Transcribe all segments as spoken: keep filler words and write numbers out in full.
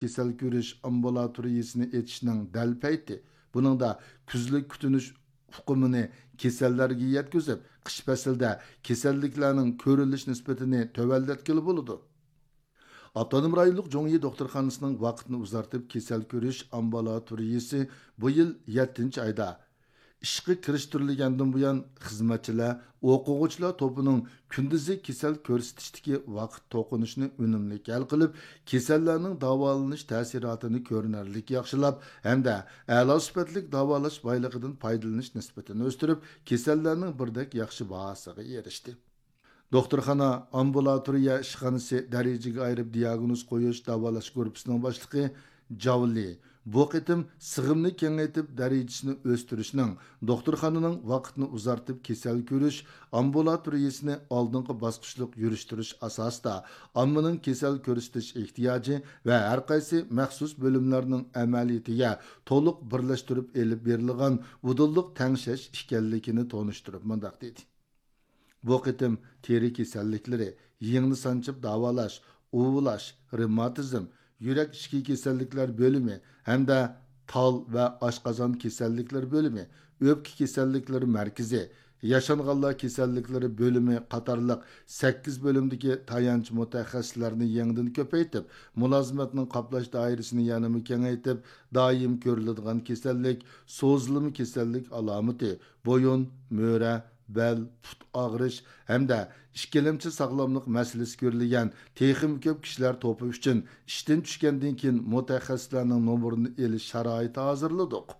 كېسەل كۆرۈش ئامبۇلاتورىيىسىنى ئېچىشنىڭ دەل پەيتى. بۇنىڭدا كۈزلۈك كۈتۈنۈش ئۇقۇمىنى كېسەللەرگە يەتكۈزۈپ، قىش پەسلىدە كېسەللىكلەرنىڭ كۆرۈلۈش نىسبىتىنى تۆۋەنلەتكىلى بولىدۇ. ئاپتونوم رايونلۇق جۇڭيى دوختۇرخانىسىنىڭ ۋاقىتنى ئۇزارتىپ كېسەل كۆرۈش ئامبۇلاتورىيىسى بۇ يىل يەتتىنچى ئايدا ئىشقا كىرىشتۈرۈلگەندىن بۇيان، خىزمەتچىلەر، ئوقۇغۇچىلار توپىنىڭ كۈندۈزى كېسەل كۆرسىتىشتىكى ۋاقىت توقۇنۇشىنى ئۈنۈملۈك ھەل قىلىپ، كېسەللەرنىڭ داۋالىنىش تەسىراتىنى كۆرۈنەرلىك ياخشىلاپ ھەمدە ئەلا سۈپەتلىك داۋالاش بايلىقىدىن پايدىلىنىش نىسبىتىنى ئۆستۈرۈپ، كېسەللەرنىڭ بىردەك ياخشى باھاسىغا ئېرىشتى. دوختۇرخانا، ئامبۇلاتورىيە ئىشخانىسى دەرىجىگە ئايرىپ دىياگنوز قويۇش، داۋالاش گۇرۇپپىسىنىڭ باشلىقى جاۋ لى بۇ قېتىم سىغىمنى كېڭەيتىپ، دەرىجىسىنى ئۆستۈرۈشنىڭ، دوختۇرخانىنىڭ ۋاقىتنى ئۇزارتىپ كېسەل كۆرۈش ئامبۇلاتورىيىسىنى ئالدىنقى باسقۇچلۇق يۈرۈشتۈرۈش ئاساسىدا، ئاممىنىڭ كېسەل كۆرسىتىش ئېھتىياجى ۋە ھەرقايسى مەخسۇس بۆلۈملەرنىڭ ئەمەلىيىتىگە تولۇق بىرلەشتۈرۈپ ئېلىپ بېرىلغان ئۇدۇللۇق تەڭشەش ئىكەنلىكىنى تونۇشتۇرۇپ مۇنداق دېدى. بۇ قېتىم تېرە كېسەللىكلىرى، يىڭنە سانچىپ داۋالاش، ئۇۋۇلاش، رېماتىزم، يۈرەك ئىچكى كېسەللىكلەر بۆلۈمى ھەمدە تال ۋە ئاشقازان كېسەللىكلىرى بۆلۈمى، ئۆپكە كېسەللىكلىرى مەركىزى، ياشانغانلار كېسەللىكلىرى بۆلۈمى قاتارلىق سەككىز بۆلۈمدىكى تايانچ مۇتەخەسسىسلەرنى يېڭىدىن كۆپەيتىپ، مۇلازىمەتنىڭ قاپلاش دائىرىسىنى يەنىمۇ كېڭەيتىپ، دائىم كۆرۈلىدىغان كېسەللىك، سوزۇلما كېسەللىك ئالامىتى، بويۇن، مۈرە، بەل، پۇت ئاغرىش ھەمدە ئىككىلەمچى ساغلاملىق مەسىلىسى كۆرۈلگەن تېخىمۇ كۆپ كىشىلەر توپى ئۈچۈن ئىشتىن چۈشكەندىن كېيىن مۇتەخەسسىسلەرنىڭ نومۇرىنى ئېلىش شارائىتى ھازىرلىدۇق.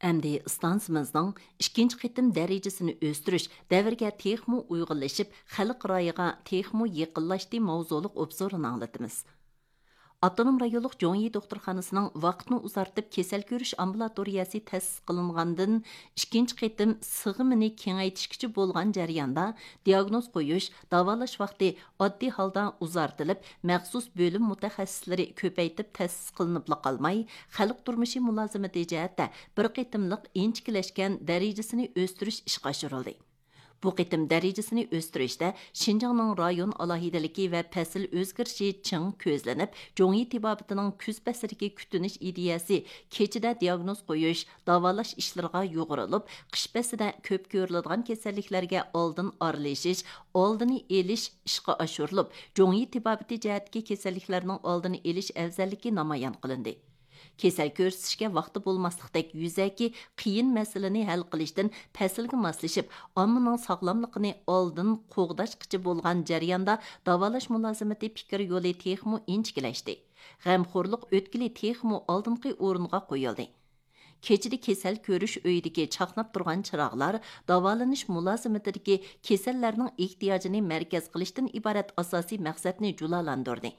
ئەمدى ئىستانسىمىزنىڭ ئىككىنچى قېتىم دەرىجىسىنى ئۆستۈرۈش دەۋرگە تېخىمۇ ئۇيغۇنلىشىپ، خەلق رايىغا تېخىمۇ يېقىنلاشتى ماۋزۇلۇق ئوبزورىنى ئاڭلىتىمىز. ئاپتونوم رايونلۇق جوڭيى دوختۇرخانىسىنىڭ ۋاقىتنى ئۇزارتىپ كېسەل كۆرۈش ئامبۇلاتورىيەسى تەسىس قىلىنغاندىن ئىككىنچى قېتىم سىغىمىنى كېڭەيتىشكىچە بولغان جەرياندا، دىياگنوز قويۇش، داۋالاش ۋاقتى ئاددىي ھالدا ئۇزارتىلىپ، مەخسۇس بۆلۈم مۇتەخەسسىسلىرى كۆپەيتىپ تەسىس قىلىنىپلا قالماي، خەلق تۇرمۇشى مۇلازىمىتى جەھەتتە بىر قېتىملىق ئىنچىكىلەشكەن دەرىجىسىنى ئۆستۈرۈش ئىشقا ئاشۇرۇلدى. بۇ قېتىم دەرىجىسىنى ئۆستۈرۈشتە شىنجاڭنىڭ رايون ئالاھىدىلىكى ۋە پەسىل ئۆزگىرىشى چىڭ كۆزلىنىپ، جوڭيى تېبابىتىنىڭ كۈز پەسلىدىكى كۈتۈنۈش ئىدىيەسى كېچىدە دىياگنوز قويۇش، داۋالاش ئىشلىرىغا يۇغۇرۇلۇپ، قىش پەسلىدە كۆپ كۆرۈلىدىغان كېسەللىكلەرگە ئالدىن ئارىلىشىش، ئالدىنى ئېلىش ئىشقا ئاشۇرۇلۇپ، جوڭيى تېبابىتى جەھەتتىكى كېسەللىكلەرنىڭ ئالدىنى ئېلىش ئەۋزەللىكى نامايان قىلىندى. كېسەل كۆرسىتىشكە ۋاقتى بولماسلىقتەك يۈزەكى قىيىن مەسىلىنى ھەل قىلىشتىن پەسىلگە ماسلىشىپ، ئاممىنىڭ ساغلاملىقىنى ئالدىن قوغداشقىچە بولغان جەرياندا داۋالاش مۇلازىمىتى پىكىر يولى تېخىمۇ ئىنچىكىلەشتى. غەمخورلۇق ئۆتكىلى تېخىمۇ ئالدىنقى ئورۇنغا قويۇلدى. كېچىدە كېسەل كۆرۈش ئۆيىدىكى چاقناپ تۇرغان چىراغلار داۋالىنىش مۇلازىمىتىدىكى كېسەللەرنىڭ ئېھتىياجىنى مەركەز قىلىشتىن ئىبارەت ئاساسىي مەقسەتنى جۇلالاندۇردى.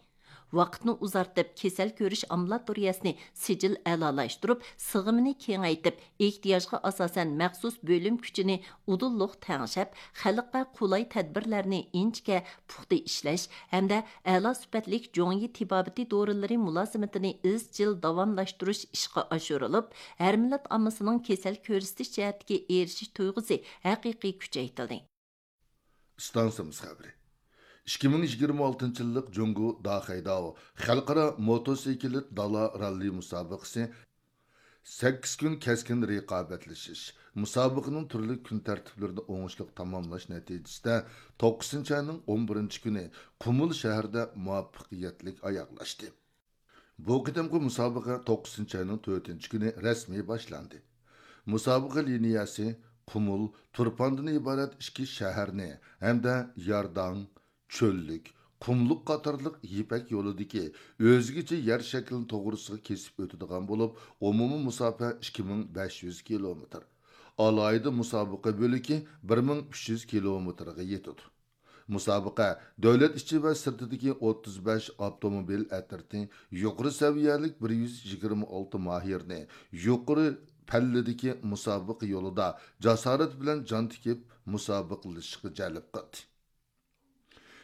ۋاقىتنى ئۇزارتىپ، كېسەل كۆرۈش ئامبۇلاتورىيەسىنى سىجىل ئەلالاشتۇرۇپ، سىغىمىنى كېڭەيتىپ، ئېھتىياجغا ئاساسەن مەخسۇس بۆلۈم كۈچىنى ئۇدۇللۇق تەڭشەپ، خەلققە قولاي تەدبىرلەرنى ئىنچىكە، پۇختا ئىشلەش ھەمدە ئەلا سۈپەتلىك جوڭيى تېبابىتى دورىلىرى مۇلازىمىتىنى ئىزچىل داۋاملاشتۇرۇش ئىشقا ئاشۇرۇلۇپ، ھەر مىللەت ئاممىسىنىڭ كېسەل كۆرسىتىش جەھەتتىكى ئېرىشىش تۇيغۇسى ھەقىقىي كۈچەيتىلدى. ئىستانسىمىز خەۋىرى. ئىككى مىڭ يىگىرمە ئالتىنچى يىللىق جۇڭگو داخەيداۋ خەلقئارا موتوسىكلىت دالا راللى مۇسابىقىسى سەككىز كۈن كەسكىن رىقابەتلىشىش، مۇسابىقىنىڭ تۈرلۈك كۈن تەرتىپلىرىنى ئوڭۇشلۇق تاماملاش نەتىجىسىدە، توققۇزىنچى ئاينىڭ ئون بىرىنچى كۈنى قۇمۇل شەھىرىدە مۇۋەپپەقىيەتلىك ئاياغلاشتى. بۇ قېتىمقى مۇسابىقە توققۇزىنچى ئاينىڭ تۆتىنچى كۈنى رەسمىي باشلاندى. مۇسابىقە لىنىيەسى قۇمۇل، تۇرپاندىن ئىبارەت ئىككى شەھەرنى ھەمدە يارداڭ، چۆللۈك، قۇملۇق قاتارلىق يىپەك يولىدىكى ئۆزگىچە يەر شەكلىنى توغرىسىغا كېسىپ ئۆتىدىغان بولۇپ، ئومۇمىي مۇساپە ئىككى مىڭ بەش يۈز كىلومېتىر، ئالاھىدە مۇسابىقە بۆلىكى بىر مىڭ ئۈچ يۈز كىلومېتىرغا يېتىدۇ. مۇسابىقە دۆلەت ئىچى ۋە سىرتىدىكى ئوتتۇز بەش ئاپتوموبىل ئەترىتى، يۇقىرى سەۋىيەلىك بىر يۈز يىگىرمە ئالتە ماھىرنى يۇقىرى پەللىدىكى مۇسابىقە يولىدا جاسارەت بىلەن جان تىكىپ مۇسابىقىلىشىشقا جەلپ قىلدى.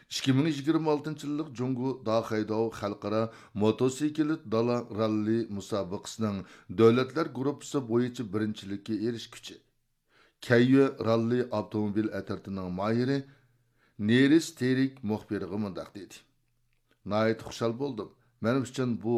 ئىككى مىڭ يىگىرمە ئالتىنچى يىللىق جۇڭگو داخەيداۋ خەلقئارا موتوسىكلىت دالا راللى مۇسابىقىسىنىڭ دۆلەتلەر گۇرۇپپىسى بويىچە بىرىنچىلىككە ئېرىشكۈچى، كەييۆ راللى ئاپتوموبىل ئەترىتىنىڭ ماھىرى نېرىس تېرىك مۇخبىرغا مۇنداق دېدى: ناھايىتى خۇشال بولدۇم. مەن ئۈچۈن بۇ